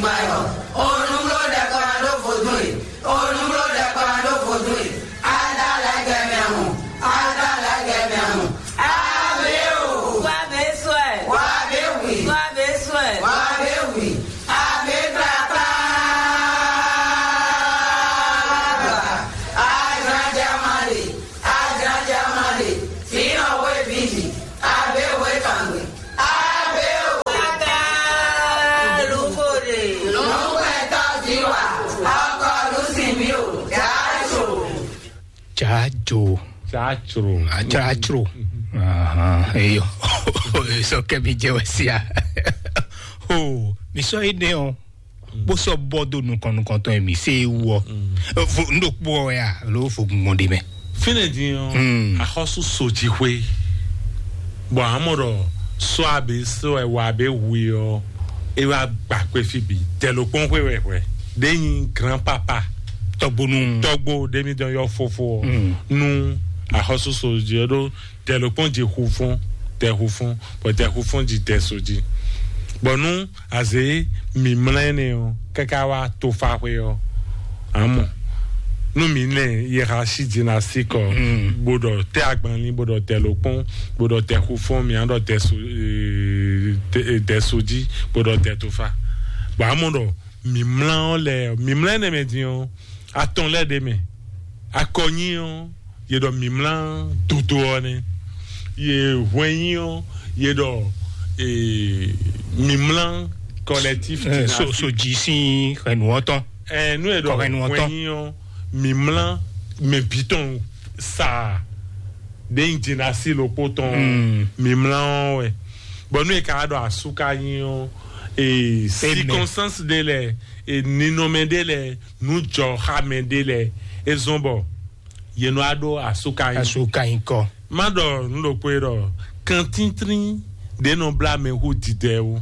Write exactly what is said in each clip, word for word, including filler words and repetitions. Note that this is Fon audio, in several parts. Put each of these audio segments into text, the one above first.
Gbayɔ, onugbo ɖɛkpɔnɔ ɖó vodún e, onugbo ɖɛkpɔnɔ ɖó vodún e, ada lɛgɛ mɛ hùn, ada lɛgɛ mɛ hùn, abe o, Wa be sɔɛ. Wa be wi, Wa be sɔɛ. Wa be wi, abe kpakpa, azan jama le, azan jama le, fínɔ we vidi, abe we kangbe, abe o. Kaka lukore. Lɔngbɛtɔ ziwa, ɔkɔ lusinmi o, jajo. Jajo. Jajo. Jajo. Ahan, eyo. Sɔ kɛ mi jɛ wɛ sia. O, mi sɔ ene o. Bó sɔ bɔ do nukɔn nukɔntɔn mi se wɔ. Vo ndo kpɔ ya lo fo gbɔn de mɛ. Fine din ɔ, Mm. Axɔsu soji xwe. Bɔn amɔ ɖɔ sɔ abe sɔ ɛ wa abe hui ɔ, e wa gba kpe fi bi dɛlokpɔn xwe wɛ hwɛ. De nyi grand papa. Tɔgbonu. Tɔgbo de mi dɔn yɔ fofo ɔ. Mm. Nu axɔsu soji ɔ ɖo tɛ ló kpɔn jɛ xu fún tɛ xu fún bɔ tɛ xu fún ji tɛ so ji. Bɔ nú azě mǐmlá ɛnɛ ɔ káká wá tofaxwe ɔ amɔ nú mǐ nɛ yɛxa sí dzinasi kɔ bó ɖɔ tɛ agbanlin bó ɖɔ tɛ ló kpɔn bó ɖɔ tɛ xu fún mǐ á ɖɔ tɛ so ee, tɛ- ee, tɛ so ji bó ɖɔ tɛ tofa. Bɔ amɔ ɖɔ mǐmlá ɔ lɛ mǐmlá ɛnɛ mɛ din ɔ atɔn lɛ ɖe mɛ akɔnyi ɔ ye ɖɔ mǐmlá dodo ɔ nɛ ye hwɛnyi ɔ ye ɖɔ ee, mǐmlá collectif Eh, so, so dzi sín xɛnu ɔ́ tɔn. Ɛ nu e ɖɔ Kɔhɛnu ɔ́ tɔn. Hwɛnyi ɔ mǐmlá mɛ bǐ tɔn saa ɖe nyi dzinasi lókpó tɔn Mm. Mǐmlá ɔ́ wɛ bɔn nu e ka ɖɔ asúka nyi ɔ ee, Amen. Circonstance ɖe lɛ ee, ninɔmɛ ɖe lɛ nujɔxamɛ ɖe lɛ e zɔn bɔ yě nɔ wá ɖó asúkanyi. Asúkanyi kɔ. Má ɖɔ nǔ ɖokpó é ɖɔ kantíntrín ɖě nɔ blá mɛ hú didɛ wú.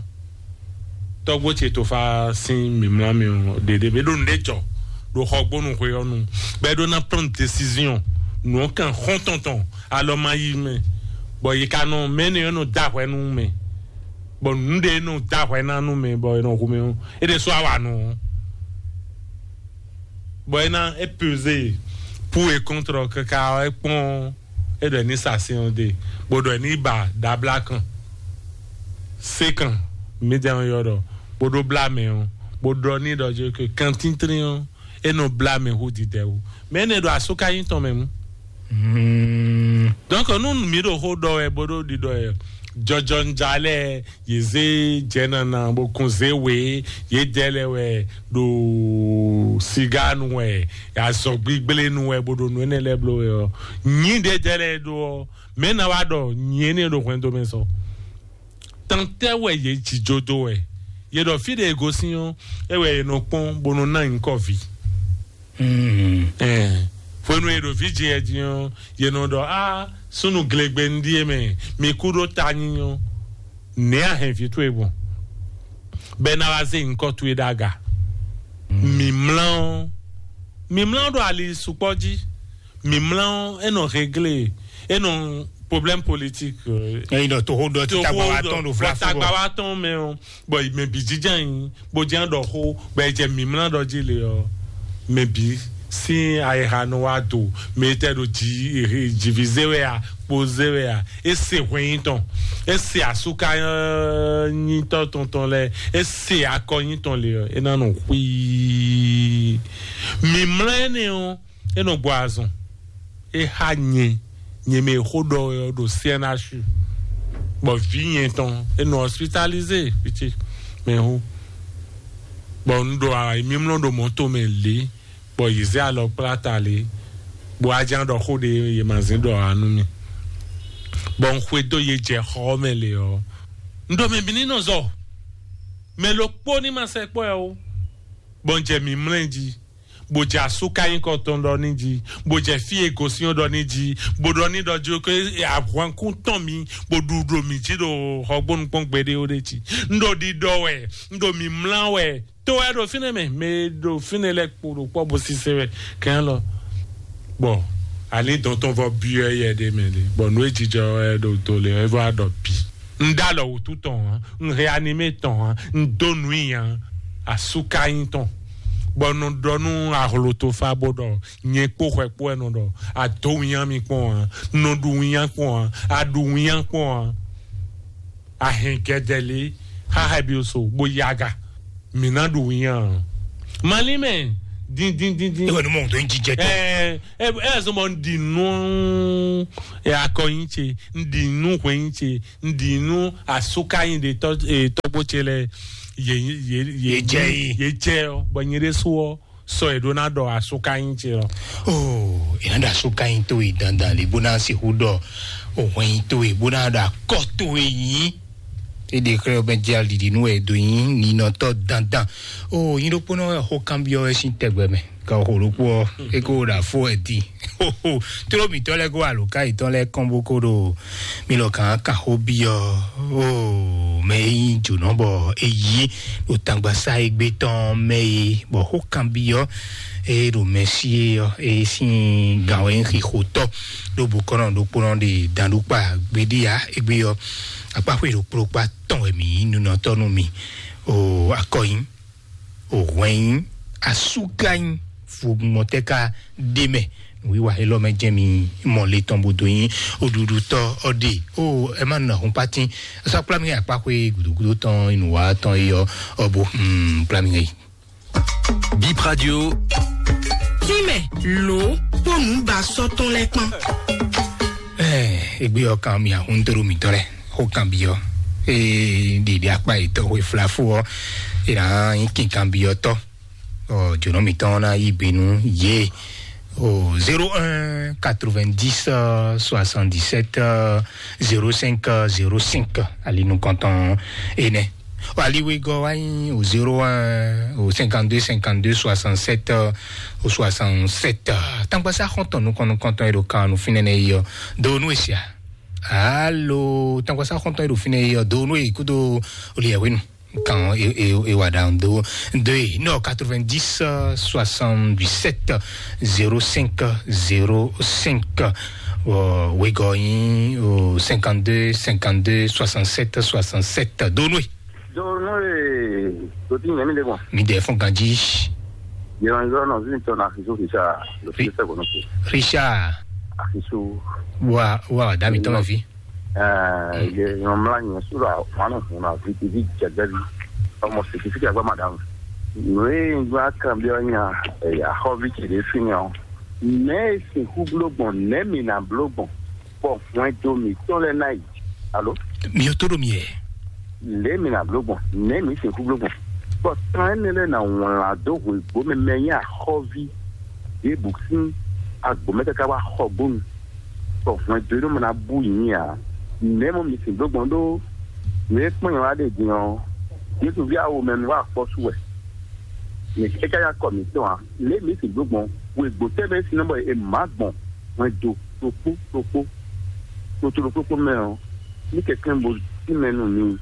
Tɔ́gbó ce Tofa sín mǐmlá mì ɔ́, ɖeɖe bɛ ɖo nǔɖé jɔ ɖo xɔgbónu xwe ɔ́ nu, bɔ é ɖó ná prendre décision, nǔ ɔ́ kan xɔ́ntɔn tɔn alɔ ma yí mɛ, bɔ yi ka nɔ mɛ énɛ́ ɔ́ nɔ dó ahwɛ nú mɛ, bɔ nǔɖé nɔ dó ahwɛ ná nú mɛ, bɔ è nɔ hu mɛ ɔ́, é ɖésú awa nɔ ɔ́. Bɔ é ná é pesé pour et contre ɔ́ káká ɔ́, é kpɔ́n é ɖɔ ní sa sin ɔ́ ɖe, bó ɖɔ ní ba ɖabla kan, sé kan, mí jɛ ɔ́ yɔ ɖɔ, bó ɖó blá mɛ ɔ́, bó ɖɔ ní ɖɔ jó ke kan tíntín ɔ́, é nɔ blá mɛ hú didɛ wú. Mɛ énɛ́ ɖo asúkanyí tɔn mɛ mú. Donc nú mǐ ɖo xó ɖɔ wɛ bó ɖó ɖiɖɔ wɛ, jɔjɔnja lɛ́ɛ, yě zé jɛ̌nana bó kún zé wě, yě dɛ lɛ́ɛ wɛ ɖo sigánu wɛ, azɔ̌gbígblé nu wɛ bó ɖo nǔ énɛ́ lɛ́ɛ bló wɛ ɔ́, nyǐ ɖě dɛ lɛ́ɛ ɖó ɔ́, mɛ̌ ná wá ɖɔ nyǐ énɛ́ ɖo hwɛndo mɛ sɔ? Tantɛ́ wɛ yě jǐjó dó wɛ? Yě ɖɔ fí ɖě e gosín ɔ́, é wɛ è nɔ kpɔ́n bó nɔ ná nyǐkɔ vǐ. Ɛɛ, hwenu e ɖo vǐ jɛ ɛ din ɔ́, yě nɔ ɖɔ á súnnu glegbe un ɖíe mɛ, mi kú ɖó ta nyínyɔ́. Nɛ̌ a hɛn vǐ towe gbɔn? Bɔ é ná wá zé nyǐkɔ towe ɖó aga. Mǐmlá ɔ́, mǐmlá ɔ́ ɖo ali sukpɔ́ jí. Mǐmlá ɔ́, é nɔ réglé, é nɔ problème politique. Ɛyin ɖɔ toxo ɖɔ ti tagba wa tɔn ɖo vlafu tagba wa tɔn mɛ ɔ́, bɔ mɛ bǐ jínjɔ́n nyi bó jɛ́n ɖɔ xó bɔ è jɛ mǐmlá ɖɔ jí le ɔ́, mɛ bǐ sín ayixa nɔ wá do, mɛ tɛ ɖo jǐ jǐví zé wɛ a, kpo zé wɛ a, é se hwɛnyí tɔn, é se asúka nyítɔ́ tɔn tɔn lɛ́ɛ, é se akɔ nyí tɔn le ɔ́, é ná nɔ xwíí. Mǐmlá énɛ́ ɔ́, é nɔ gbɔ azɔn, é xá nyɛ, nyɛ mɛ e xó ɖɔ wɛ ɔ́ ɖo C N H U, bɔ vǐ nyɛ tɔn é nɔ hospitalisé fiti mɛ xó, bɔ un ɖo ayǐmímlɔ́ ɖo mɔ̌to mɛ lě, bɔ yě zé alɔ kplá ta lě, bɔ aján ɖɔ xó ɖé yě ma zín ɖɔ ǎ nú mì, bɔ un xwedó yě jɛ xɔ ɔ́ mɛ lě ɔ́, un ɖɔ mɛ bǐ ní nɔ zɔ, mɛ ɖokpó ní ma sɛkpɔ́ ɛ ó, bɔ un jɛ mǐmlɛ́ jí. Bó jɛ asúkanyíkɔ tɔn ɖɔ ní jí, bó jɛ fí e gosín ɔ́ ɖɔ ní jí, bó ɖɔ ní ɖɔ jí ké ahwankún tɔn mì, bó ɖu ɖo mì jí ɖo xɔgbónukpɔ́n gbeɖé ó ɖé jí. Un ɖo ɖiɖɔ wɛ, un ɖo mǐmlá wɛ, to wɛ ɖo fínɛ́ mɛ, mɛ e ɖo fínɛ́ lɛ́ɛ kpo ɖo kpɔ́ bó sísé wɛ kɛn lɔ. Bɔ ali dɔn tɔn vɔ byɔ́ yɛ ɖé mɛ ɖé, bɔ nǔ e jijɔ wɛ ɖo to lě ɔ́, é vɔ ɖɔ bǐ. Un ɖó alɔ wǔtu tɔn hǎn, un hɛn animé tɔn hǎn, un dó nǔ nyi hǎn. asúkanyí tɔn, bɔ nɔ ɖɔ nú ahlotofa bó ɖɔ nyɛ kpó xwɛ kpó wɛ nɔ ɖɔ, adó winnyá mi kpɔn a, nɔ ɖu winnyá kpɔn a, aɖu winnyá kpɔn a, ahɛn gɛdɛ lé xáxá bi so bó yaga, mǐ ná ɖu winnyá a. Malí mɛ, dín dín dín dín. Ewɔ ni mɔ tó ń jíjẹ tán. Ɛ ɛ ɛ zɔn bɔ n ɖi nú akɔnyi ce, n ɖi nú hwɛnyi ce, n ɖi nú asúkanyí ɖe tɔ́ tɔ́gbó ce lɛ, yě yě yě Yě jɛ yí. Yě jɛ ɔ, bɔ nyɛ ɖésú ɔ sɔ yě ɖó ná ɖɔ asúkanyí ce lɔ. Oh, è nǎ ɖo asúkanyí towe dandan lě bó ná sixú ɖɔ òhwɛnyí towe bó ná ɖo akɔ towe nyí. Éɖe xlɛ́ ɔ́ mɛ jɛ alǐɖi nú wɛ è dǒ nyí ninɔtɔ́ dandan. Oh, nyí ɖokpónɔ wɛ xó kanbyɔ́ wɛ sín tɛgbɛ mɛ. Ka xo ɖokpó ɔ́, é ko ɖo afó wɛ din. Tló mǐtɔn lɛ́ɛ kó alǒká yětɔn lɛ́ɛ kɔn bó kó ɖo mi lɔ kàn kàn xó byɔ́. Oh, mɛ e nyí jǒnɔ bɔ é yí ɖo tangbaṣá égbé tɔn mɛ é, bɔ xó kanbyɔ́ é ɖo mɛ sí é ɔ́, é sín gǎn wɛ nyí xixotɔ́ ɖó bokɔ́nɔ ɖokpónɔ ɖe dan ɖó kpa gbeɖé ǎ. Égbé ɔ́, akpáxwé ɖokpó ɖokpó atɔn wɛ mǐ nyí nunɔtɔ́ nú mi. O akɔnyi, o hwɛnyi, asúganyi, fomɔtɛ́ ka ɖ'é mɛ. Nǔwiwa élɔ́ mɛ jɛ́n mi mɔ le tɔn bó dó nyí oɖuɖutɔ́ ɔ́ ɖe. O ɛ má nɔ hun pátín. Sɔ́ kplá mi akpáxwé gǔdógúdó tɔn, nǔwa tɔn é ɔ́, ɔ bó hmm, kplá mi yi. Bip Radio. Tínmɛ lǒ kpó nǔbasɔ́ tɔn lɛ́ɛ kpán. Ɛ, égbé ɔ́ kan mi ahun dó mǐtɔn lɛ́ɛ xó kanbyɔ́. Ée ɖiɖi akpá yětɔn xwe flafó ɔ́, è nǎ nyí kinkanbyɔ́tɔ́. Ɔ, jǒnɔ mǐtɔn ná yí gbe nú yě. O zéro un quatre-vingt-dix soixante-dix-sept zéro cinq zéro cinq, ali nukɔntɔn énɛ́. Ɔ, ali wegɔ́ wá nyí o zéro un o cinquante-deux cinquante-deux soixante-sept o soixante-sept. Tangbaxá xɔntɔn nukɔn nukɔntɔn e ɖo kan nú fínɛ́ nɛ́ yi ɔ́, do nú e sia. Alo, tangbaxá xɔntɔn e ɖo fínɛ́ yi ɔ́, do nú e kúdó olùyẹ̀wé nu. Kan e e e wa ɖa do do e nɔ quatre-vingt-dix soixante-dix-sept zéro cinq zéro cinq. Wegɔ́ nyí o cinquante-deux cinquante-deux soixante-sept soixante-sept. Do nú e. Do nú e do tí nyɛ mi ɖe gbɔn. Mi ɖe fún ganjí. Yɛlɛnzɔ nɔ vi tɔ na Axisu Richard, le fils de Richard. Axisu. Wa wa dami tɔn fi. Ɛɛ, ye nyɔmla nyɛ su la wana hun na vi ti vi jɛgbɛ vi. Ɔmɔ siki siki agba madam. Nue gba kan bi ɔnya, ɛya xɔ vi ti de fi nyɔ. Nɛ si hu blo gbɔn, nɛ mi na blo gbɔn. Bɔ hwɛndo mǐtɔn lɛ́ɛ ná yi. Alo? Mi ò tó ɖo mi yɛ. Lě mi ná bló gbɔn, nɛ̌ mǐ sixú bló gbɔn? Bɔ tán énɛ́ lɛ́ɛ ná wlán dó hwěgbó mɛ mɛ nyí axɔ́ví ɖěbǔ sín agbǒ mɛ káká wá xɔ gbónu, bɔ hwɛndo e nɔ mɔ ná bú yǐ ǎ. Nɛ̌ mɔ mi sixú bló gbɔn ɖó nǔ e kpɔ́n nyɛ wá ɖe din ɔ́, Jesu ví awo mɛ nu wá akpɔ́ su wɛ. Mɛ é ká nyí akɔ mǐtɔn ǎ. Lě mǐ sixú bló gbɔn, wěgbó tɛ́ mɛ é sin nɔ bɔ è má gbɔn hwɛndo ɖokpó ɖokpó. Kpotolo kpókpó mɛ ɔ́, ní kɛkɛ́ bo tínmɛ nú mi,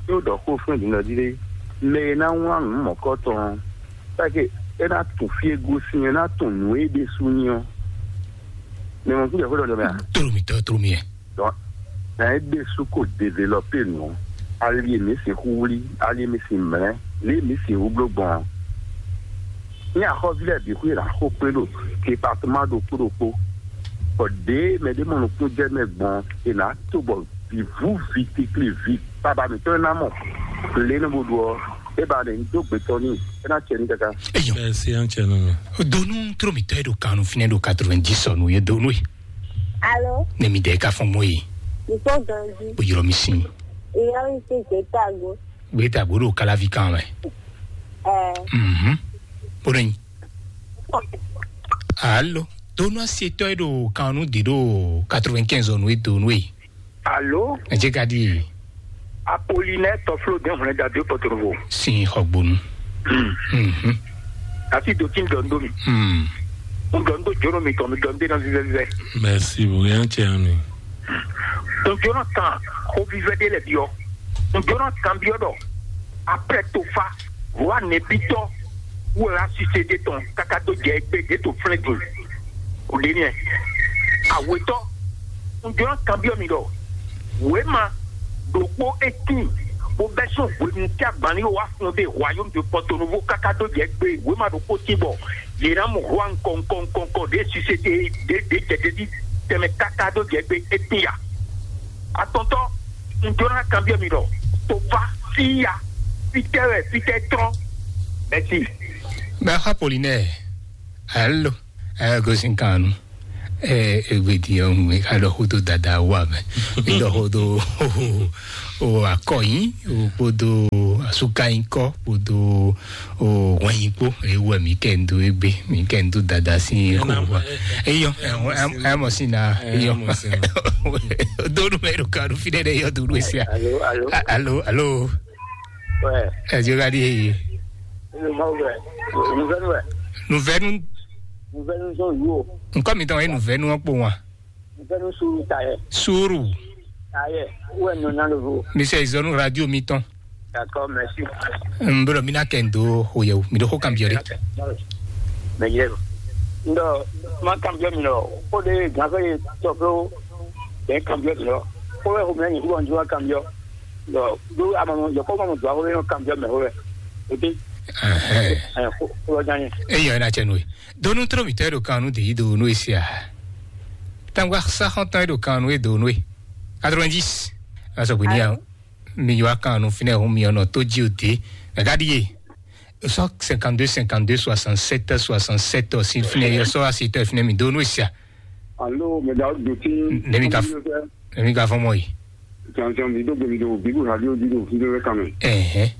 ɖó ɖɔ xó fún din ɖɔ jí ɖé, mɛ e ná wlán nǔ mɔ̌kɔtɔn ɔ́, káké é ná tunwun fí e gosín é ná tunwun nǔ e ɖésú nyí ɔ́. Mɛ mɔ kúndé xó ɖɔ mɛ a? Tló mi tɔ́, tló mi yɛ. Dɔn, na é ɖésú ko develɔpé nǔ ɔ́, ali e mǐ sixú wlí, ali e mǐ sin mlɛ́, lě e mǐ sixú bló gbɔn ɔ́. Ní axɔ́ví lɛ́ɛ bǐ xwíra xó kplé ɖo departement ɖokpó ɖokpó, bɔ ɖěe mɛ ɖé mɔ nukúnjɛ mɛ gbɔn è nǎ to bɔ vǐvú vi tikli vi baba mǐtɔn e ná mɔ lě nɔ bo ɖu ɔ́, é ba ɖe ń dó gbetɔ́ n'i, é ná cɛ ní káká. Eyɔ. Ɛ si an cɛ nɔ mɛ. Donu tró mi tɔ e ɖo kanu finɛ ɖo quatre-vingt-dix sɔnu ye donu e. Alo. Ne mi dɛ ka fɔn mo ye. Ìfó ganji. O yɔrɔ mi sin. Ìyá mi ti gbé tàgó. Gbé tàgó ɖo kalavi kan mɛ. Ɛ. Mhm. Bó ɖo nyi. Alo. Donu asietɔ e ɖo kanu di ɖo quatre-vingt-quinze ɔnu e donu e. Alo. Ɛ jɛ ka di. Apolinɛ tɔflo den hwlɛn dadu pɔtorovo. Sin xɔgbonu. Mhm. Asi do tí ń dɔ ń dó mi. Hmm. Ń dɔ ń dó jóró mi tɔn mi dɔ ń dé ná vívɛvívɛ. Merci, bóyá ń tẹ àmì. Ń jóró kan xó vívɛ dé lɛ biɔ. Ń jóró kan biɔ dɔ. Après tofa, wa nɛbitɔ, wo la sise de tɔn kaka do jɛ egbe de to flɛ dun. O de niɛ. Awetɔ, ń jóró kan biɔ mi dɔ. Wema, ɖokpó etin. Bó bɛ́ sín hwenu tí agbanlín wá fún ɖe Royaume de Porto Novo káká dó jɛ gbé wěma ɖokpó tí bɔ yě ná mɔ hwá ŋkɔ ŋkɔ ŋkɔ ŋkɔ ɖě sise ɖě ɖě ɖě jɛ ɖě ɖi tɛnmɛ káká dó jɛ gbé étín ya. Atɔntɔ, un jló ná kanbyɔ́ mi ɖɔ, to fá fí ya, fítɛ́ wɛ fítɛ́ trɔ́n? Mɛsi. Bɛ xɔ Polinɛ. Alo. Ɛ gosin kan nu. Ɛ egbedi ɔ mi ka ɖɔ xó dó dada wa mɛ. Mi ɖɔ xó dó o akɔyin o kpódó asukayinkɔ kpódó o wɛnyinkpo. Ewɔ mi kɛ n do egbe mi kɛ n do dada si xó wa. Eyɔ ɛ mɔ si na eyɔ. Donu mɛ ɖo kanu fi ɖe ɖe yɔ donu esia. Alo, alo. Alo, alo. Ouais. Ɛ jɔ ka di eye. Inu ma wɛ. Nuvɛnu wɛ. Nuvɛnu. Nuvɛnu zɔn yu o. Nkɔ mi tɔn ye nuvɛnu ɔ kpo wa. Nuvɛnu suru ta yɛ. Suru. Ta yɛ. Wɛ nɔ na lovo. Mi sɛ izɔnu radio mi tɔn. D'accord, merci. N bro mi na kɛ n do ho yɛ o. Mi do ho kan biɔ de. Mais yɛ. Ndo ma kan biɔ mi lɔ. O de gan fɛ ye tɔ fɛ o. Bɛ kan biɔ mi lɔ. Ko wɛ ho mi na nyi ko bɔ n ju wa kan biɔ. Yɔ, ɖó amamɔ yɔ kɔ mɔ dua wɛ yɔ kan biɔ mɛ wɛ. Ete. Ɛhɛn. Ɛ ko ko nya nye. Eyɔ ena cɛ nue. Donu trɔ mi tɛ do kan nu de yi do nu esia. Tangwa sa xɔntɔn do kan nu e do nu e. Quatre-vingt-dix. Aso bini ya. Mi yɔ akan nu finɛ hun mi ɔnɔ to ji o de. Nagadi ye. Sɔ cinquante-deux cinquante-deux soixante-sept soixante-sept si finɛ yɔ sɔ asi tɛ finɛ mi do nu esia. Alo, mɛ da do ti. Ne mi ka Ne mi ka fɔn mɔ yi. Tiantian mi do gbe mi do bibu radio di do fi do kan mɛ. Ɛhɛn.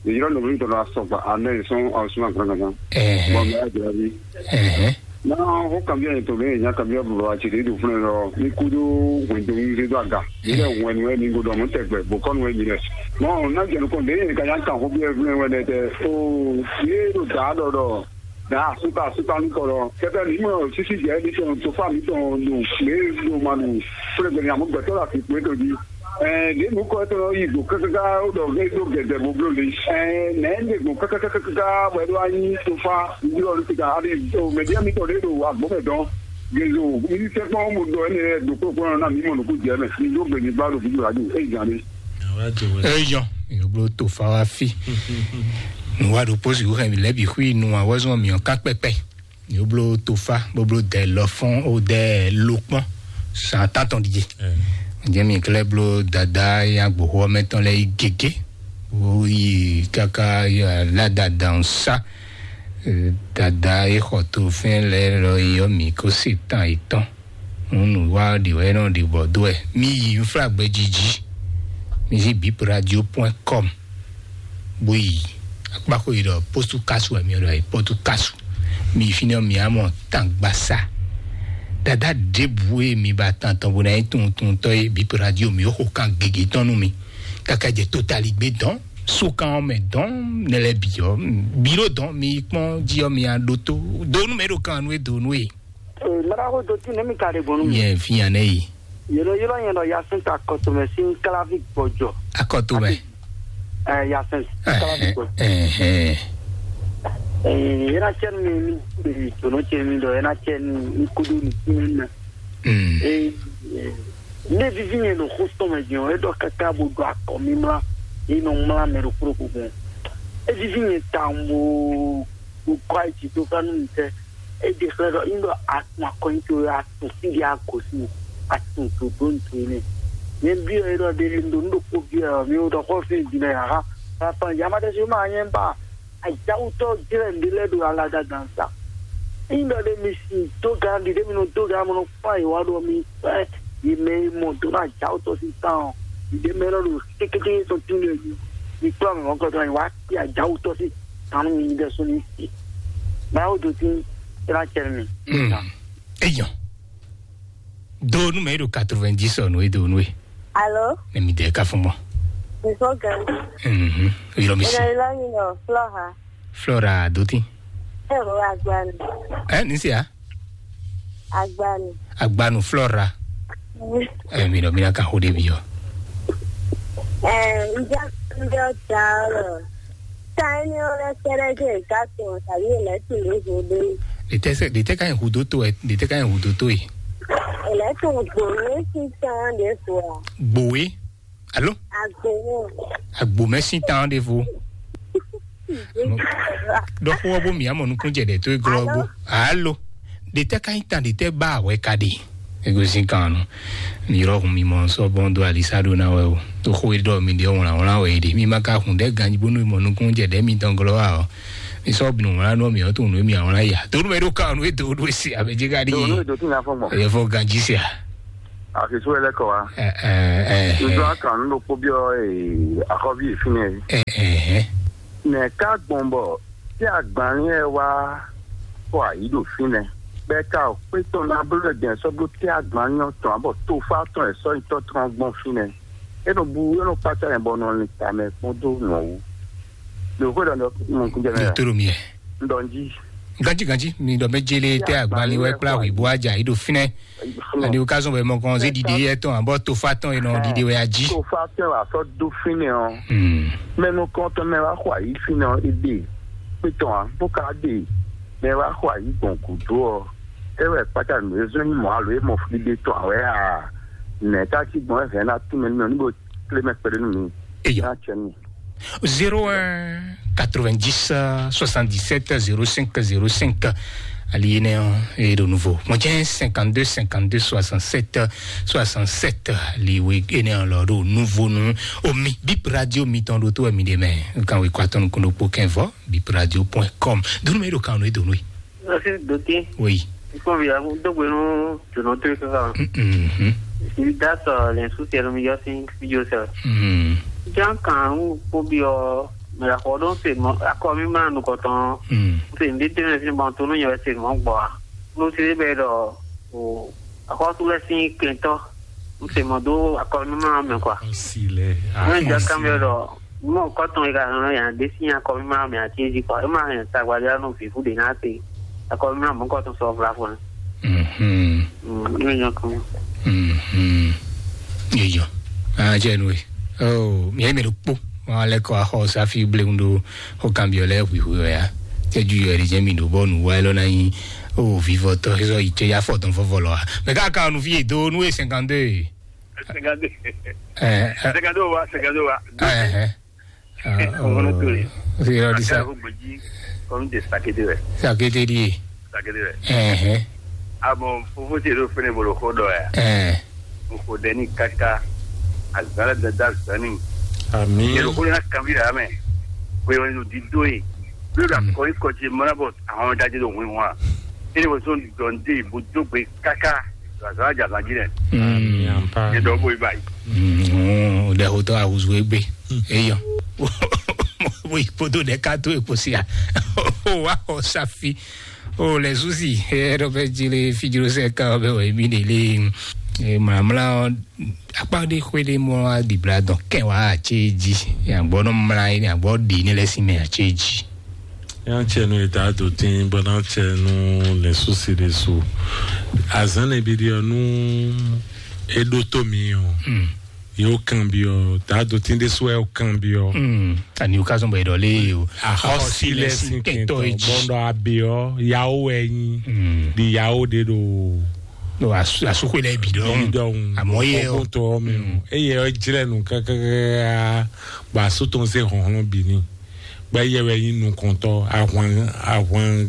Mi yɔrɔ nɔ mi tɔnɔ asɔgba anɛ sɔn awusuma gbɔngàn. Ɛhɛn. Bɔn mɛ ajira bi. Ɛhɛn. Na o kan bi to le nya kan bi baba ti de do fun lɔ mi ku do hwen do mi do aga. Ile hwen we mi go do mo tɛgbɛ bo kɔn we mi lɛ. Mɔ na jɛnu kɔn de ka nya kan ko bi e fun we ne te. O ye do da dɔ dɔ. Na suka suka mi kɔrɔ kɛtɛ ni mɔ sisi jɛ ni tɔn tofa mi tɔn do le do ma nu fúlẹ̀gbẹ̀ ni àmọ́ gbẹ̀tọ́ la fi pé tó di. Ɛɛ ne nu kɔ tɔn yi do kaka o dɔ ve do gɛdɛ bo blo le. Ɛɛ nɛ ne do kaka kaka kaka bɔ ɛdɔ anyi tofa yɔ lu tika ali o mɛdia mi tɔ de do agbɔmɛ dɔn. Gezo mi tɛ kpɔn mo dɔ ɛnɛ do kpɔkpɔ na mi mɔ nuku jɛ mɛ mi do gbɛ ni ba do fi do adu e jan de. Eyɔ, yoblo tofa wa fi. Nu wa ɖo posi wú hɛn mi lɛbi xwi nu wa wɔzɔn mi ɔ ká kpɛkpɛ. Yoblo tofa boblo dɛ lɔfɔn o dɛ lokpɔn. San tatɔn di. Jɛ mi klɛ blo dada ya gboxo mɛ tɔn lɛ yi gege. O yi kaka ya la dada sa. Dada e xɔ to fɛn lɛ lɔ yɔ mi ko se tan etɔn. Nunu wa ɖi wɛ nɔ ɖi bɔ do wɛ. Mi yi nfla gbɛ jiji. Mi zi bip radio point com. Bo yi akpaxo yi ɖɔ postu kasu wɛ mi ɖɔ yi postu kasu. Mi yi fínɛ mi amɔ tangbasa. Dada ɖebu e mi ba tan tɔn bo na yi tun tun tɔ ye bip radio mi o xo kan gege tɔn nu mi. Kaka jɛ totali gbe dɔn. Sokan mɛ dɔn ne lɛ bi ɔ. Biro dɔn mi kpɔn ji ɔ mi a ɖo to. Donu mɛ ɖo kan nu e donu e. Ee, mara ko do ti ne mi ka de gbɔnu mi. Yɛ fi yan ne yi. Yelo yelo yɛn dɔ yasin ta kɔtɔmɛ sin kalavi gbɔjɔ. Akɔto mɛ. Ɛɛ, yasin kalavi gbɔjɔ. Ɛhɛn. Ee, yena cɛ mi mi mi dono cɛ mi dɔ yena cɛ mi mi kudu ni mi na. Mm. Ee, ee, ne vivi yɛn no xo tɔmɛ jɔ e dɔ kaka bo do akɔ mi mla. E nɔ mla mɛ do kuro ko gbɔn. E vivi yɛn ta mo. Mo kɔ ayi to fa nu mi tɛ. E de xlɛ dɔ in dɔ atun akɔnyi to atun si di agosi atun to do ntu ne. Ne bi ɔ e dɔ de ndo ndo ko bi ɔ mi o dɔ kɔ fi di na ya ha. Fa fa ya ma de si ma nye ba. Ajawutɔ jrɛ nde lɛ do ala da dan sa. In dɔ de mi si do gan di de mi no do gan mo no fa yi wa do mi. Ɛ yi mɛ yi mɔ do na ajawutɔ si tan ɔ. Yi de mɛ lɔ do kékéké sɔ tun de mi kplɔ mi mɔ kɔtɔ yi wa. Ti ajawutɔ si tanu mi de so ni si. Mawu do ti ila cɛ mi. Hmm. Eyɔ. Do nu mɛ ɖo quatre-vingt-dix ɔ nu e do nu e. Alo. Ne mi de ka fún mɔ. Nìkó gan. Mhm. Yɔrɔ mi si. Ìlọ ìlọ mi nọ Flora. Flora do ti. Ẹ wo agbanu. Ɛ ni se ya. Agbanu. Agbanu Flora. Ɛ mi nɔ mi na ka xo de bi ɔ. Ɛ n ja n jọ da ɔ. Tani o lɛ kɛrɛ je ka tun tàbí ilẹ̀ tún lè hu dé. Ɖe tɛ sɛ ɖe tɛ ka yin hu do to ɛ ɖe tɛ ka yin hu do to yi. Ilẹ̀ tún gbòòrò sísan de fò a. Gbòwe. Alo? Agbo. Agbo mɛ sín tan ɖevo. Ɖɔxo ɔ́ bó mǐ amɔ nukún jɛ ɖɛ tó e glɔ́ gbó. Alo? Ɖe tɛ́ ka nyí tan ɖe tɛ́ ba wɛ ka ɖe? Ego sín kan nu. Mi yrɔ hun mi mɔ sɔ bɔn dó alisa ɖó ná wɛ o. Tó xó e ɖɔ mi ɖe wlán wlán wɛ e ɖe. Mi ma ka hun ɖɛ ganji bónú mɔ nukún jɛ ɖɛ mi tɔn glɔ́ wa ɔ. Mi sɔ binu wlán nɔ mi ɔ tó nu mi wlán ya. Tó nu mɛ ɖó kan nu e do ɖó e si abɛ jɛ ka ɖi. Tó nu e do tún ya fɔ gbɔn. Ɛ fɔ ganji sia. Àfisú ẹ lẹ́kọ̀ọ́ wa. Ẹ ẹ ẹ. Ìjọ akàn ń lo kpó bí ọ àkọ́bí ìfínà yìí. Ẹ ẹ ẹ. Nɛ ká gbɔn bɔ tí agbanlín ɛ wá kɔ àyí ɖo fínɛ. Bɛ ka ò pé tɔn ná bló ɛ gbɛn sɔ́ bló tí agbanlín ɔ́ tɔn abɔ tó fá tɔn ɛ sɔ́ nyitɔ́ tɔn gbɔn fínɛ. É nɔ bu é nɔ kpácá yẹn bɔ nɔ lin tamɛ kpɔ́n dó nɔ wú. Ɖo xwé ɖɔ nɔ mɔ kúnjɛ mɛ. Deuteronomie. Ndɔnji. Ganji ganji mi ɖɔ mɛ jele tɛ agbanlín wɛ kplá hwi bó aja yi ɖo fínɛ. Ani o ka zɔn bɛ mɔ kɔn zé ɖiɖi yɛ tɔn abɔ tofa tɔn yi nɔ ɖiɖi wɛ aji. Tofa tɔn wà sɔ dó fínɛ ɔ. Hmm. Mɛnu kɔn tɔn mɛ wá xɔ ayi fínɛ ɔ ebe. Pétɔn a bó ka de mɛ wá xɔ ayi gbɔn gúdo ɔ. Ewɛ kpata nù ezɔn yi mɔ alo e mɔ fli de tɔn awɛ a. Nɛ ta ci gbɔn ɛfɛ na tún mɛ nínú ní bo tlé mɛ kpɛɖé nù mí. Eyo. Ná tsɛ nù. Zéro un quatre-vingt-dix soixante-dix-sept zéro cinq zéro cinq. Ali énɛ́ ɔ́ e ɖo nouveau. Mɔjɛ́ cinquante-deux cinquante-deux soixante-sept soixante-sept. Ali we énɛ́ ɔ́ lɔ ɖo nouveau nu. Omi bip radio mitɔn ɖo tó ɛmi ɖe mɛ. Kan we kɔ atɔn nukun ɖokpó kɛnvɔ bip radio point com. Donu mɛ ɖo kan nu e donu e. Merci doté. Oui. Ikpɔn via dogbe nu dunu to kaka. Mhm. Ibi da sɔ le su tiɛ mi yɔ sin video sɛ. Mhm. Jan kan un kpo bi ɔ me la xɔ don se mo akɔ mi ma nu kɔtɔn. Mhm. Se ndi te me fi ban to no nyɛ se mo gbɔ a. No se be dɔ o akɔ tu le sin kentɔ. Un se mo do akɔ mi ma me kwa. Si le. Ne jan kan be dɔ mo kɔtɔn yi ka no ya de sin akɔ mi ma me ati ji kwa. E ma hɛn tagba ja no fi fu de na te. Akɔ mi ma mo kɔtɔn sɔ vla fun. Mhm. Mm, ne nya kan. Mhm. Iyo. Ah, jenu e. Oh, mi mi kpo. Wa le ko ho safi blegundo ho cambio le wi wi ya. Te ju yo ri jemi do bo nu wa lo na yin. Oh, vivo to so ite ya foto fofo lo. Me ka ka nu fi do nu e cinquante-deux. Cinquante-deux. Eh, eh. Cinquante-deux wa, cinquante-deux wa. Eh, eh. Ah, Ọmọ náà tó lè. Ṣé irọ́ ní sá? Àti àwọn gbèjì, kọ́mí tẹ sàkété rẹ̀. Sàkété díẹ̀. Sàkété rẹ̀. Ẹ̀hẹ́n. Àmọ́ fúnfún tí èdè òfin ìbò ló kó dọ̀ ẹ̀. Ẹ̀hẹ́n. N kò dẹ ní kaka. Àgbàlá dada zani. Àmín. Yẹ̀rọ kó ní ká kàwé rà mẹ́. Pé wọ́n ti dó yìí. Lórí àkọ́rí kọjí mọ́nàbọ̀ àwọn ọ̀dájú ló ń wí wọn. Kí ni wọ́n tún dọ̀ ń dé ìbò jókòó kaka? Zazalaja zan jí dɛ. Mm. Ye dɔ bo yi ba yi. Mm, o de ho to awuzu egbe. Eyo. Bo yi kpoto de ka to ekpo sia. O wa o safi. O le susi. E do be jile fijiro se ka be o mi de le. E mla mla akpa de xwe de mo a di bla dɔn kɛ wa a tse ji. Ya gbɔ no mla yi, ya gbɔ di ne le si me a tse ji. Yan tsɛ nu eta do tin bɔ na tsɛ nu le susi de su. Azan ne bi di ɔ nu eɖo to mi ɔ. Mm. Yo kan bi ɔ ta do tin de su ɛ o kan bi ɔ. Mm. Ani o ka zɔn bɔ edɔ le o. Ahɔsi lɛ sin kɛntɔ e ji. Bɔndɔ abi ɔ yawo wɛ nyi. Mm. Di yawo de do. No asu asu ko lɛ bi dɔn. Bi dɔn. Amɔ ye o. Kɔkɔntɔ mi o. Mm. Eye ɔ jilɛ nu kɛkɛkɛ. Ba su tɔn se hɔnhlɔn bi ni. Gbɛ yɛ wɛ nyi nukɔntɔ ahwan ahwan.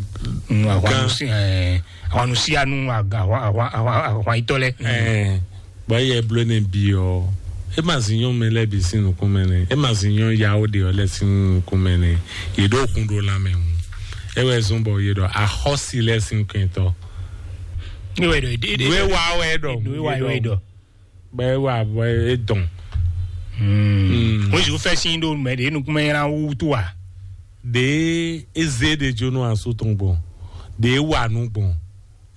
Mm, ahwan gan. Nusi, eh, ahwan nusianu aga ahwan ahwan ahwan ahwan itɔ lɛ. Eh, gbɛ yɛ bló ne bi ɔ. E ma zi nyɔn mɛ lɛ bi sin nukun mɛ ne. E ma zi nyɔn yawo de ɔ lɛ sin nukun mɛ ne. Ye ɖo kun ɖo lamɛ ŋu. E wɛ zɔn bɔ ye ɖɔ ahɔsi lɛ sin kɛntɔ. Ne wɛ ɖɔ ede ede. Nue wa wɛ ɖɔ. Nue wa wɛ ɖɔ. Bɛ wa bɛ e dɔn. Hmm. Wọ́n sì fẹ́ sí ndó mɛ de nukun mɛ yẹn wú tó wa. De eze de jo no aso tɔn gbɔn. De wa nu gbɔn.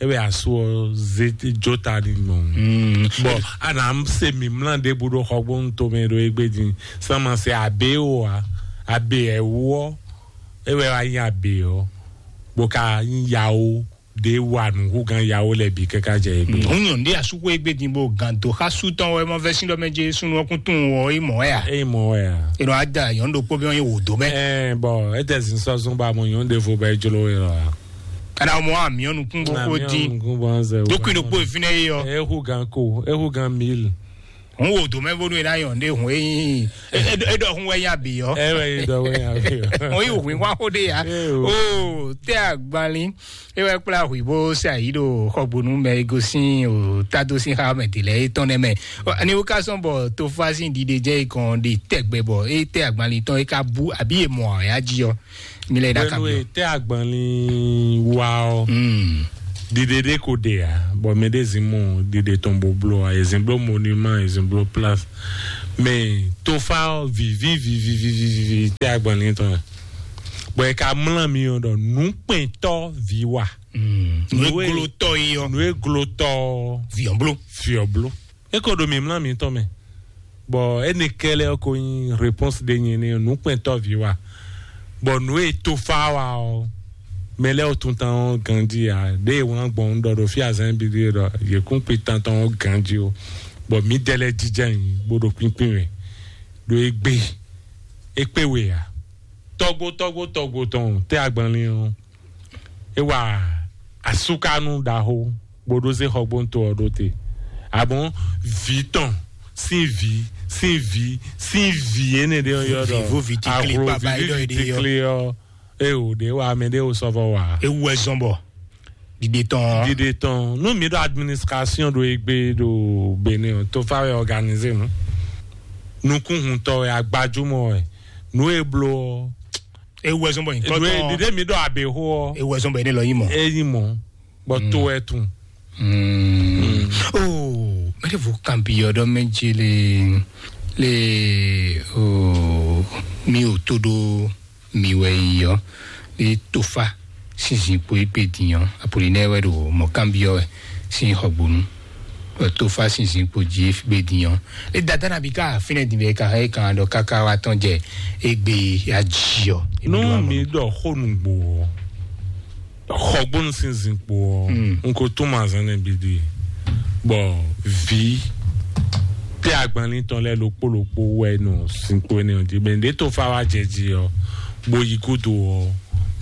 E bɛ aso ze jo ta ni gbɔn. Hmm. Bɔn ana se mi mla de bu ɖo xɔ gbɔn to mɛ ɖo egbe din. Sama se abe o wa. Abe ɛ wɔ. E bɛ wa nyi abe ɔ. Bo ka nyi yawo. De wa nuhúgán yawo lɛ bi kɛkɛ jɛ egbe. Hun nyɔn ɖe asuku egbe din bo gan do xa su tɔn wɛ mɔ vɛ sin dɔ mɛ je sunu ɔkun tun wɔ e mɔ ya. E mɔ ya. E nɔ ada yɔn ɖokpó bí wọn ye wò do mɛ. Ɛɛ bɔn e tɛ zin sɔzun ba mɔ yɔn ɖevo bɛ jlo e lɔ ya. Kana mɔ amiɔnu kún bó kó dín. Dókun ɖokpó ìfínɛ yé yɔ. Ehúgán ko ehúgán mil. Hun wo do mɛ bónú e ná yɔn ɖé hun e nyí e ɖɔ hun wɛ nya bǐ yɔ. Ɛ wɛ yi dɔ wɛ nya bǐ yɔ. Hun yi hun wá xó ɖé ya. Ee o. O tɛ agbanlin e wɛ kplá hui bó se ayi ɖo xɔgbonu mɛ e gosín o tado sín xá mɛ dě lɛ e tɔn nɛ mɛ. Ani wo ka sɔn bɔ tofa sín ɖiɖe jɛ e kɔn ɖe tɛgbɛ bɔ e tɛ agbanlin tɔn e ka bú àbí e mɔ ɔ̀yá jí ɔ. Mi lɛ ɖaka Pẹ̀lú bíọ́. Ètè àgbọ̀nlin wa ɔ. Mm. Dìde dé kò dé a, bɔ mɛ ɖé zin mɔ dìde tɔn bó bló a, èzin bló monument, èzin bló place. Mɛ tofa ɔ vivi vivi vivi vivi tɛ àgbọ̀nlin tɔn. Bɔ e ka mlá mi ɔ ɖɔ nukpɛntɔ vi wa. Mm. Nu e Nue- glotɔ yi ɔ. Nu e glotɔ Viɔn bló. Viɔ bló. E ko ɖo mi mlá mi tɔn mɛ. Bɔ ene kɛlɛ ɔ ko nyi réponse ɖe nyi ne nukpɛntɔ vi wa. Bɔ nu e tofa wa ɔ, mɛ lɛ o tuntan ɔ ganji a, ɖe e wlán gbɔn ɖɔ ɖo fi azan bi ɖe ɖɔ yekun kpi tantɔn ɔ ganji o. Bɔ mi dɛ lɛ jija nyi bó ɖo kpínkpín wɛ ɖo egbe e kpé we a. Tɔgbo tɔgbo tɔgbo tɔn tɛ agbanlin ɔ. E wa asukanu ɖaxó bó ɖó zé xɔgbóntó ɔ ɖó te. Abɔn vǐ tɔn sín vǐ sín vǐ sín vǐ énɛ́ ɖé ɔ́ yɔ ɖɔ Vivo vǐ tikli ahlo kpaba é ɖɔ é ɖe yɔ. Tikli ɔ. E o ɖe wa mɛ ɖe o sɔvɔ wa. Ewu wɛ zɔn bɔ ɖiɖe tɔn ɔ. Ɖiɖe tɔn nú mi ɖo administration ɖo egbe ɖo Benin ɔ, tofa wɛ organiser nu. Nukúnhuntɔ wɛ agbajúmɔ wɛ nu e bló ɔ. Ewu wɛ zɔn bɔ nyikɔ Ɖiɖe tɔn. Ɖiɖe mi ɖɔ aběxó ɔ. Ewu wɛ zɔn bɔ é ne lɔ yi mɔ. Eyi mɔ bɔ to wɛ tun. Mm. Oh, mɛ ɖe vo kan bi ɔdɔ mɛ dzi le le oh, mi o to ɖo mi wɛ yi ɔ le tofa sinzin kpo egbe din ɔ apolinaire wɛ ɖo mɔ kan bi ɔ wɛ sin xɔgbonu. Tofa sinzin kpo dzi egbe din ɔ le dada na bi ka finɛ din bɛ ka hɛ kan ɖɔ kaka wa tɔn jɛ egbe ya dzi ɔ. Nú mi ɖɔ xó nugbo ɔ, xɔgbónu sín zinkpo ɔ, Mm. N ko tún mazán nɛ bídí. Bɔ vǐ tɛ agbanlín tɔn lɛ́ɛ ɖokpó ɖokpó wɛ nɔ zinkpo énɛ́ ɔ́ jí. Mɛ ɖě tó fá wá jɛ jí ɔ́, bó yí gúdo ɔ́,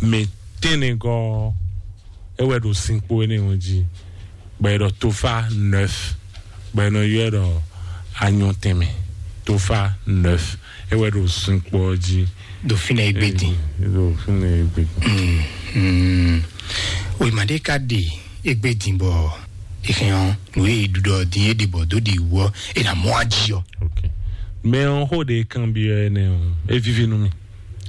mɛ tɛ́nnɛgɔ́ ɔ́, é wɛ ɖo zinkpo énɛ́ ɔ́ jí. Bɔ è ɖɔ tofa nɛf, bɔ è nɔ ylɔ́ ɛ ɖɔ anyɔ tɛnmɛ. Tofa nɛf, é wɛ ɖo zinkpo ɔ́ jí. Ɖo fínɛ́ égbé din. Ɖo fínɛ́ égbé din. Mm, mm. Wěma ɖé ka ɖe égbé din bɔ è hɛn ɔ́, nǔ e è ɖu ɖɔ din é ɖe bɔ dó ɖi wú ɔ́, è nǎ mɔ ají ɔ́. Ok. Mɛ ɔ́ xó ɖě kanbyɔ́ ɛnɛ ɔ́, é víví nú mì.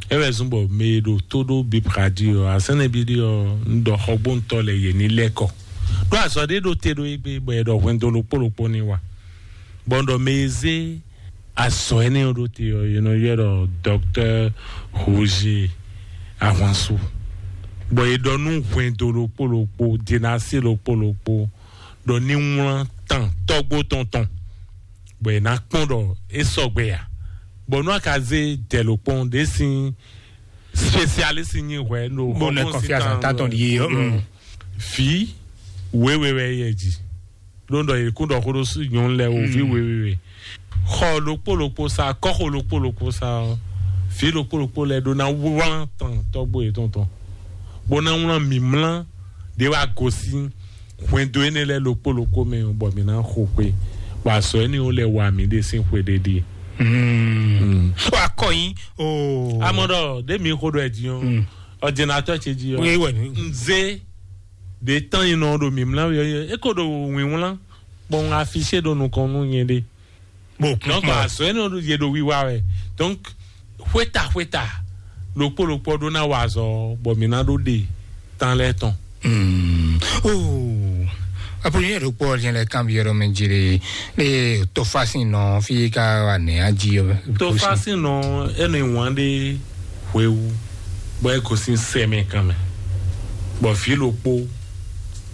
É wɛ zɔ́n bɔ mɛ e ɖo tó ɖó Bibladi ɔ́, asɛ́nɛ́bíɖí ɔ́, un ɖɔ xɔgbóntɔ́ lɛ́ɛ yě ní lɛ́ kɔ. Ɖó azɔ̌ ɖé ɖo te ɖó égbé, bɔ è ɖɔ hwɛndo ɖokpó ɖokpó ní wa. Bɔ un ɖɔ mɛ e zé azɔ̌ énɛ́ ɔ́ ɖó te ɔ́, è nɔ ylɔ́ ɖɔ Dɔktɔ́ Roger Ahwansu. Bɔ è ɖɔ nú hwɛndo ɖokpó ɖokpó, dinasi ɖokpó ɖokpó, ɖɔ ní wlán tan tɔ́gbó tɔn tɔn. Bɔ è nǎ kpɔ́n ɖɔ é sɔgbe a. Bɔ nú a ka zé dɛ̌lokpɔ́n ɖě sín spécialiste nyi hwɛ ɖo Bó nɛ xɔgbɔn confiance síta ta tɔn ɖi yé, mm. Fǐ wěwe wɛ yɛ jí. Ɖó ɖɔ yě kún ɖɔ xó ɖó sú nyɔ̌nu lɛ́ɛ o, fǐ wěwe wɛ. Xɔ ɖokpó ɖokpó sa, kɔ́xo ɖokpó ɖokpó sa ɔ́, fǐ ɖokpó ɖokpó lɛ́ɛ ɖó ná wlán tɔn tɔ́gbó yětɔn tɔn. Bó ná wlán mǐmlá ɖě wá gosín hwɛndo énɛ́ lɛ́ɛ ɖokpó ɖokpó mɛ ɔ́, bɔ mǐ ná xo xwé, bɔ azɔ̌ énɛ́ ɔ́ lɛ́ wa mǐ ɖe sín xwe ɖé ɖíe. Mm. Ó wá kɔ yín o. Amɔ ɖɔ ɖé mi xo ɖɔ ɛ din ɔ́, Mm. Ɔdinatɔ ce jí ɔ́. Wé wɛ ní. Nzé ɖě tán yi nɔ ɖo mǐmlá wɛ ɔ́, é ko ɖo wǐnwlán, bɔ un afisé ɖo nukɔn nú nyɛ ɖé. Bó Donc, kún azɔ̌ énɛ́ ɔ́ yě ɖo wiwa wɛ. Donc, xwéta xwéta, ɖokpó ɖokpó ɖó ná wa azɔ̌, bɔ mǐ ná ɖó ɖe tán lɛ́ɛ tɔn. Mm. Oh. Apollo yɛ ɖokpó ɔdín lɛ kan bi yɔrɔ mɛ jire le tofa sin nɔ fi ka wa nɛ aji yɔ. Tofa sin nɔ enu ìwọ̀n ɖe hwewu, bɔ e gosin sɛmɛ kan mɛ, bɔ vǐ ɖokpó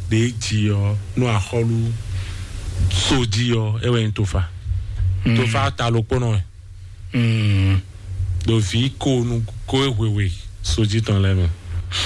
ɖe ji ɔ nú axɔlu so ji ɔ, e wɛ nyí tofa. Mm. Tofa ta ɖokpónɔ wɛ. Mm. Ɖo vǐ ko nu ko e hwewe so ji tɔn lɛ mɛ.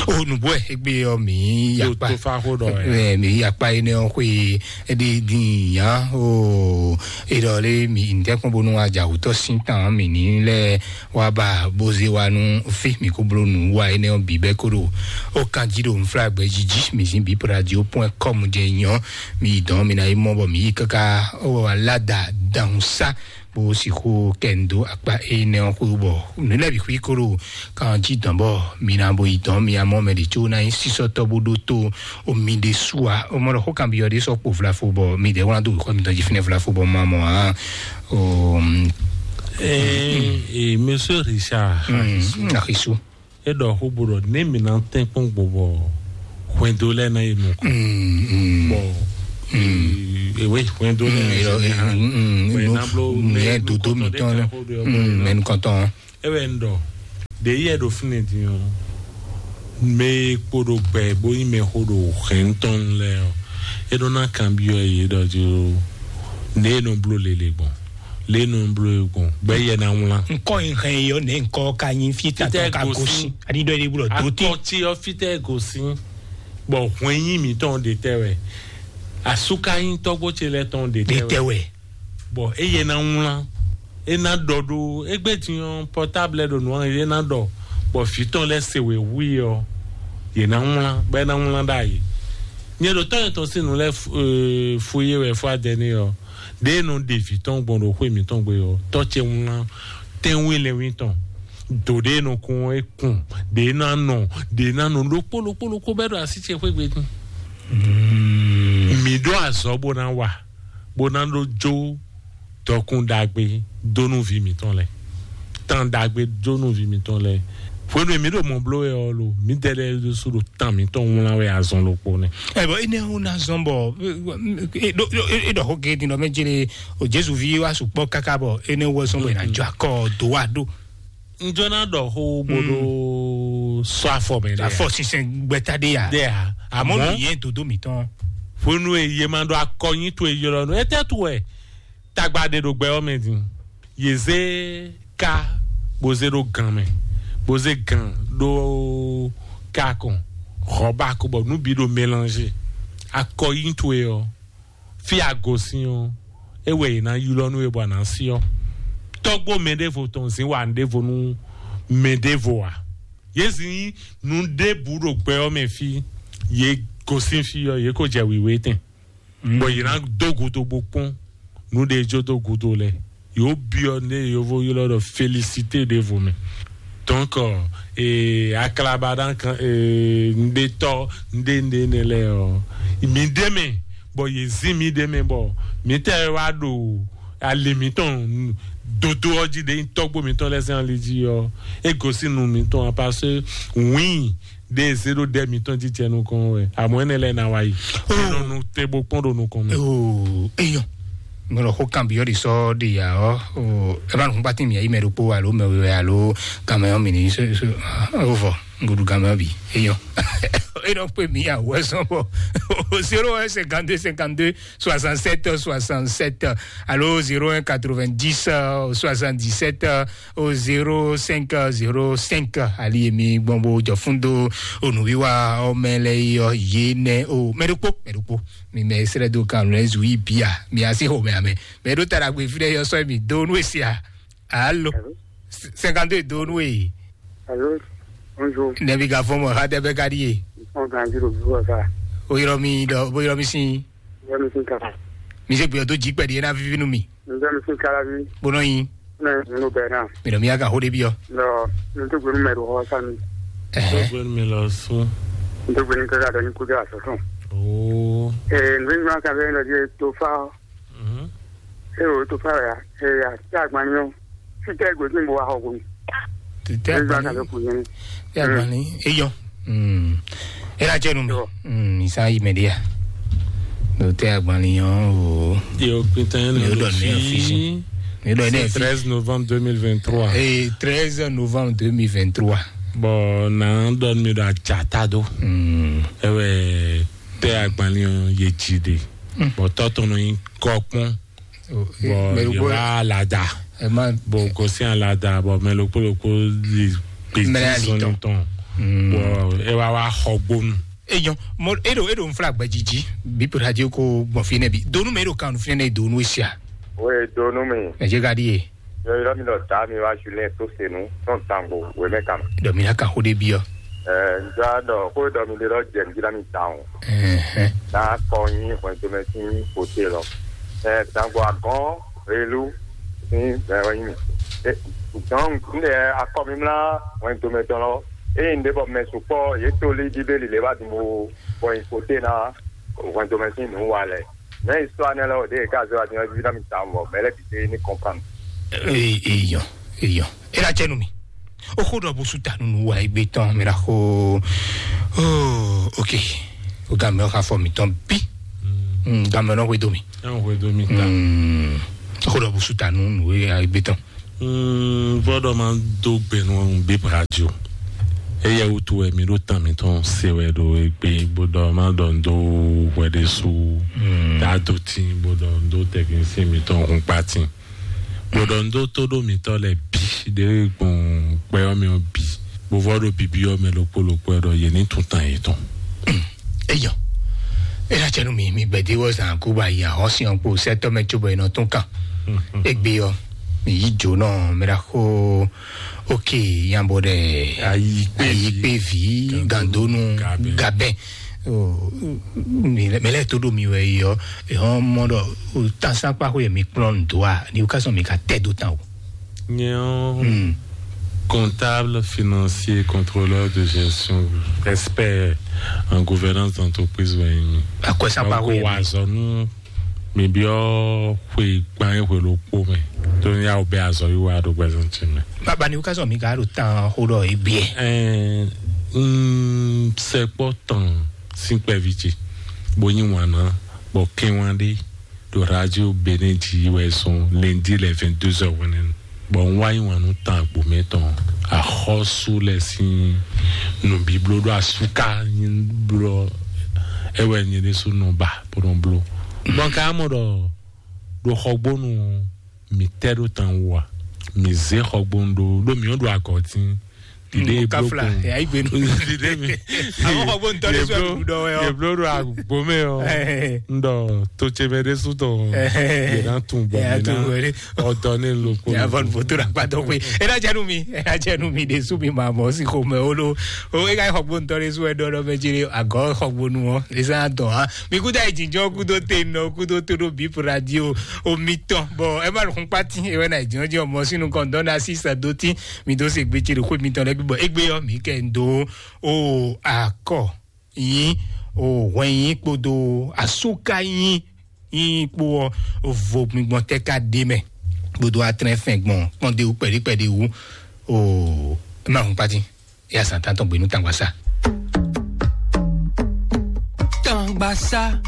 O nǔgbó ɛ égbé ɔ́ mǐ yó yakpa tó fa xó ɖɔ ɛ. Ɛ, mǐ yakpa énɛ́ ɔ́ xwé. Ɛɖi dín yǎ o. Eɖɔ lé mǐ ŋdɛ́kpɔ́n bónú ajawǔtɔ́ sín tán mǐ ní lɛ́ɛ wá ba bó zé wá nú fí mǐ kó bló nǔ wá énɛ́ ɔ́ bǐ bɛ́ kó ɖo ó kan jí ɖo nflágbɛ jí jí mǐ sín bǐ radio point com jɛ nyɔ́. Mǐ yi dɔn mǐ ná yi mɔ bɔ mǐ yi káká ó wá láda dǎhùn sá bó sixú kɛ ndo akpa énɛ́ ɔ́ xwé bɔ nǔ lɛ́ɛ bǐ xwí kó ɖo kan jí dɔn bɔ mǐ ná bo yi dɔn mǐ amɔ mɛ ɖě có ná nyí sísɔ́tɔ́ bó ɖótó o mi ɖé su a o mɔ ɖɔ xó kan byɔ́ ɖé sɔ́ kpo vlafo bɔ mi ɖě wlán dó xɔ mi tɔn jí fínɛ́ vlafo bɔ ma mɔ a o. Ee, Monsieur Richard, Axisu. E ɖɔ xó bó ɖɔ ne mi ná tɛn kpɔn gbɔ bɔ hwɛndo lɛ ná yi nukɔn. Bɔ ewe hwɛndo lɛ bɔ ena blo nìyẹn dodo mi tɔn mɛ nukɔntɔn. Ewɛ ń ɖɔ ɖe yɛ ɖo fínɛ din ɔ mɛ kpo ɖo gbɛ bó nyi mɛ xó ɖo hɛn tɔn lɛ ɔ e ɖo ná kan byɔ yě ɖɔ jí ne e nɔ bló lele gbɔn le nɔ bló e gbɔn gbɛ yɛ na wlan. Nkɔ yi hɛn yi ɔ ne nkɔ ka nyi fi ta tɔ ka gosi ani dɔ yi blo do te. Akɔti ɔ fitɛ gosi bɔ hwɛn nyi mitɔn de tɛ wɛ asuka nyi tɔgbo ce lɛ tɔn de tɛ wɛ. Bɔ eye na wlan e na ɖɔ ɖo egbe din ɔ portable ɖo nua ye na ɖɔ bɔ vitɔn lɛ se wɛ wi ɔ ye na wlan bɛ na wlan ɖa yi. Nye ɖo tɔn yɛn tɔn si nu lɛ fu ye wɛ fɔ adɛ ni ɔ ɖe nɔ ɖe vitɔn gbɔn ɖo xwe mitɔn gbe ɔ tɔ ce wlan tɛnwe lɛ wi tɔn do ɖe nɔ kun e kun ɖe na nɔ ɖe na nɔ ɖokpo ɖokpo ɖokpo bɛ ɖo asi ce xwe gbe din. Mi ɖo azɔ bo na wa bo na ɖo jo dɔkun ɖagbe donu vi mitɔn lɛ tan ɖagbe donu vi mitɔn lɛ hwenu mi ɖo mɔ blo wɛ ɔ lo mi dɛ lɛ su ɖo tan mitɔn wlan wɛ azɔn ɖokpo nɛ. Ɛ bɔ ene wo na zɔn bɔ e ɖɔ xo ke din dɔ mɛ jele o jesu vi wa sukpɔ kaka bɔ ene wo zɔn bɔ ina jɔ akɔ do wa do. Njɔ na ɖɔ xo bo ɖo sɔ afɔ mɛ ɖe afɔ sinsɛn gbɛta ɖe ya ɖe ya amɔ amɔ mi yɛ dodo mitɔn. Hwenu e ye ma ɖo akɔ nyi to e ylɔ nu etɛ tu wɛ tagba ɖe ɖo gbɛ ɔ́ mɛ din ye zé ka bó zé ɖó gan mɛ bó zé gan ɖó ka kɔn xɔba ko bɔ nú bi ɖo mélange akɔ yí towe ɔ fi agosin ɔ e wɛ yě ná ylɔ́ nú we bɔ a nǎ sí ɔ tɔ́gbó mɛ ɖěvo tɔn zín wa ɖěvo nú mɛ ɖěvo a yě zin nú ɖěbǔ ɖo gbɛ ɔ́ mɛ fí yě gosín fí ɔ yě ko jɛ wǐwé tɛn. Bɔ yě ná dó gúdo bó kpɔ́n nú ɖe jó dó gúdo lɛ yóò byɔ́ ndé yovo ylɔ́ ɖɔ félicité ɖěvo mɛ. Donc euh, aklaba ɖan kan euh, nɖetɔ nɖe nɖe nɖe lɛ ɔ mi ɖe mɛ bɔ yě zin mi ɖe mɛ bɔ mi tɛ wá ɖo ali mitɔn dodo ɔ jí ɖe tɔgbo mitɔn lɛ sɛn ali jí ɔ e gosi nu mitɔn a parce que win ɖe zé ɖo ɖɛ mitɔn jí jɛ nukɔn wɛ àmọ́ ɛnɛ lɛ na wá yi. Ɛnɔ nu te bó kpɔn ɖo nukɔn mɛ. Oo eyɔn mɔlɔ xó kan biyɔ de sɔ de ya ɔ o ɛ b'a nukun kpati mi ayi mɛ ɖokpo alo mɛ wɛ alo gamɛ ɔ mi ni so so o vɔ ngudu gamɛ ɔ bi eyɔn. E nɔ pe mi ya wɛ sɔn bɔ o zéro un cinquante deux cinquante deux soixante sept soixante sept alo zéro un quatre vingt dix soixante dix sept au zéro cinq zéro cinq ali emi gbɔn bo jɔ fún do onuwiwa ɔmɛ lɛ yɔ yé nɛ o mɛɖokpo mɛɖokpo mi mɛ srɛ do kan lɛ zu yi bia mi asi xɔ mɛ amɛ mɛ ɖo tara gbe fi ɖe yɔ sɔ mi do nu esia alo cinquante deux do nu e. Allô, bonjour. Nɛbi ka fɔn mɔ ha tɛ bɛ ka di ye. Ɔn kan jiro bi wɔ sa. O yɔrɔ mi dɔ o yɔrɔ mi sin. Yɔrɔ mi sin kala. Mi se gbiyɔ to ji kpɛdi yena vivi nu mi. N bɛ mi sin kala bi. Bonɔ yin. Ne nu bɛ na. Mi dɔ mi ya ka ho de bi yɔ. Lɔ n tó gbenu mɛ do hɔ sa mi. Ɛhɛ. Gbenu mi lɔ sun. N tó gbenu kaka dɔ ni kudu asɔsɔ. Oo. Ee n bɛ ɲuman kan bɛ n dɔ di to fa. Mhm. E o to fa ya e ya tí a gbani yɔ fitɛ gòtí mo wa xɔ gòmí. Títí a gbani tí a gbani eyɔ. Ela jẹ nu mi isa yi mɛ dia. Dòtí a gbani yɔ o. Yóò pintan yẹn lọ sí. Yóò dọ̀ ní ọ̀fíìsì. Yóò dọ̀ ní ọ̀fíìsì. Treize novembre deux mille vingt-trois. Ee treize novembre deux mille vingt-trois. Bɔn na dɔn mi do ajata do. Ɛwɛ tɛ agbanlin yɛ dzi de. Bɔn tɔtɔnɔ yin kɔkpɔn. Bɔn yɛ wa alada. Bɔn gosi alada bɔn mɛ lokpo lokpo li gbèsè sɔnni tɔn. Bɔ ɛ wá wá xɔ gbónu. Eyɔn, mo eɖo eɖo nfla gbɛjiji bí pé radio ko gbɔn fi nɛ bi donu mɛ eɖo kan fi nɛ donu esia. Oye donu mi. Ɛ jẹ ka di ye. Yɔ yɔ mi lɔ da mi wá julɛ tó senu tɔn tango wɛ mɛ kama. Dɔ mi na kan xo de bi ɔ. Ɛ n ja dɔ ko dɔ mi de lɔ jɛ n jira mi ta o. Ɛhɛn. Na kɔ nyi hwɛn tomɛ sin kote lɔ. Ɛ tango agɔn elu sin bɛ wɛ nyi mi. Ɛ dɔn n de akɔ mi mla hwɛn tomɛ tɔn lɔ. Eye un ɖe bɔ mɛ sukpɔ yě to lí bíbélì lě wá dun bó bɔ nyi kote ná hwɛndo mɛ sín nǔ wa lɛ. Mɛ yi sɔ anɛ lɛ o ɖe ka zɔ adi ɔ́ ví ná mi ta wɔ mɛ lɛ bi te ní kɔnpan. Eyɔ, eyɔ. Ela cɛ nu mi. O xo ɖɔ bo su ta nunu wa egbe tɔn mi la xo. Oh, ok. O ga mɛ o xa fɔ mi tɔn bi. Mm, ga mɛ nɔ hwe do mi. Ɛn hwe do mi ta. Mm. O xo ɖɔ bo su ta nunu egbe tɔn. Mm, vɔdɔ ma do gbenu bib radio. Eye wutu wɛ mi ɖo tan mitɔn se wɛ ɖo egbe gbɔdɔ ma ɖɔ ndo hwɛɖesu. Mm. Ta do tin gbɔdɔ ndo technicien mitɔn hun kpa tin. Gbɔdɔ ndo to ɖo mitɔ lɛ bi ɖe gbɔn kpɛ ɔ́ mi ɔ bi. Bo vɔ ɖo bibi ɔ́ mɛ ɖokpó ɖokpó ɛ ɖɔ yě ní tún tan yětɔn. Eyɔ. Ena cɛ nu mi mi gbɛdé wɔ zan kó ba yi ahɔn si ɔn kpo sɛtɔ mɛ tso bɔ enɔ tún kan. Egbe ɔ mi yi jo nɔ mɛ ɖa xo. Ok, yambo ɖe. Ayi kpe ayi vi. Kpe vi gandonu gabɛ. Gabɛ. Mɛ lɛ to ɖo mi wɛ yi ɔ ehɔn mɔ ɖɔ tansan kpa xo yɛ mi kplɔn do a ni o ka sɔn mi ka tɛ do tan o. Nyɛ ɔ́, comptable, financier, contrôleur de gestion, expert en gouvernance d'entreprise wɛ nyi mi. Akɔsakpa xo yɛ wa mi. Azɔ nú mi biɔ xwe kpan e xwe ɖokpó mɛ. Tó ní awo bɛ azɔ yi wa ɖo gbɛzɔn tsi mɛ. Baba ni wúkazɔ mi ka ɖo tan xó ɖɔ ebiɛ. Ɛɛ, n sɛkpɔ tɔn sín kpɛvi ce, bo nyi wǎn ná, bɔ kɛnwan ɖé ɖo radio Benin jí wɛ sɔn lundi le vingt-deux heures wɛnɛ nu. Bɔ n wá yi wǎn nú tan agbo mɛ tɔn axɔ́sú lɛ sín nǔbíbló ɖo asúká nyi blɔ é wɛ nyɛ ɖésú nɔ ba bó nɔ bló. Bɔ n ka mɔ ɖɔ ɖo xɔgbónu ɔ́, mi tɛ ɖo tan wú a? Mi zé xɔgbónu ɖó ɖó mi ɔ́ ɖo agɔ̌ tín. Ɖiɖe e bló kafla kun ya yi gbenu ɖiɖe mi. Àwọn xɔgbónu tɔ ɖé sɔ ɖuɖu ɖɔ wɛ ɔ. Ye bló ɖo agbo mɛ ɔ. N ɖɔ tó ce mɛ ɖé sú tɔn. Ye na tun bɔ mi na ɔdɔ ne lo ko. Ya vɔ nuvo to ɖo akpa tɔ koe. Ena jɛ nu mi, ena jɛ nu mi ɖe sú mi ma mɔ si xo mɛ o lo. O ega xɔgbónu tɔ ɖé sú wɛ ɖɔ ɖɔ mɛ jere agɔ xɔgbónu ɔ. Esa dɔn ha. Mi kuta yi jinjɔ kudo te nɔ kudo to ɖo bip radio. O mi tɔn bɔ ɛ ma lukun kpati ewɛ na yi jinjɔ mɔ sinu kɔndɔn na si sa do ti. Mi do se gbe ce ɖo xwe mitɔn lɛ gbɔ egbe yɔ mi kɛ n do o akɔ yin o hwɛn yin kpodo asuka yin yin kpo ɔ vo mi gbɔn tɛ ka de mɛ kpodo atrɛn fɛn gbɔn kpɔn de wu kpɛɖi kpɛɖi wu o ma hun pati ya san tan tɔn gbenu tangba sa. Tangba sa.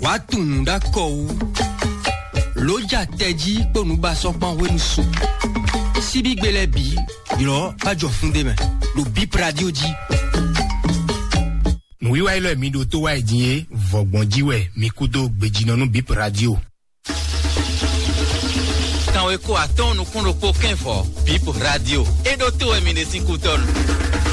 Wàá tunwun ɖó akɔ wú. Lǒ ja tɛjí kpó nǔbasɔ́kpán hwenu su. Síbígbe lɛ́ɛ bǐ ylɔ́ bá jɔ fún ɖé mɛ ɖo Bip Radio jí. Nǔwiwa élɔ́ e mi ɖo tó wá yi din é, vɔ̌gbɔn jí wɛ mi kú dó gbejínɔ nú Bip Radio. Kanweko atɔ́ɔ́n nukún ɖokpó kɛ́n vɔ̌, Bip Radio. É ɖó tó wɛ mi ɖe sín kútɔ́nu.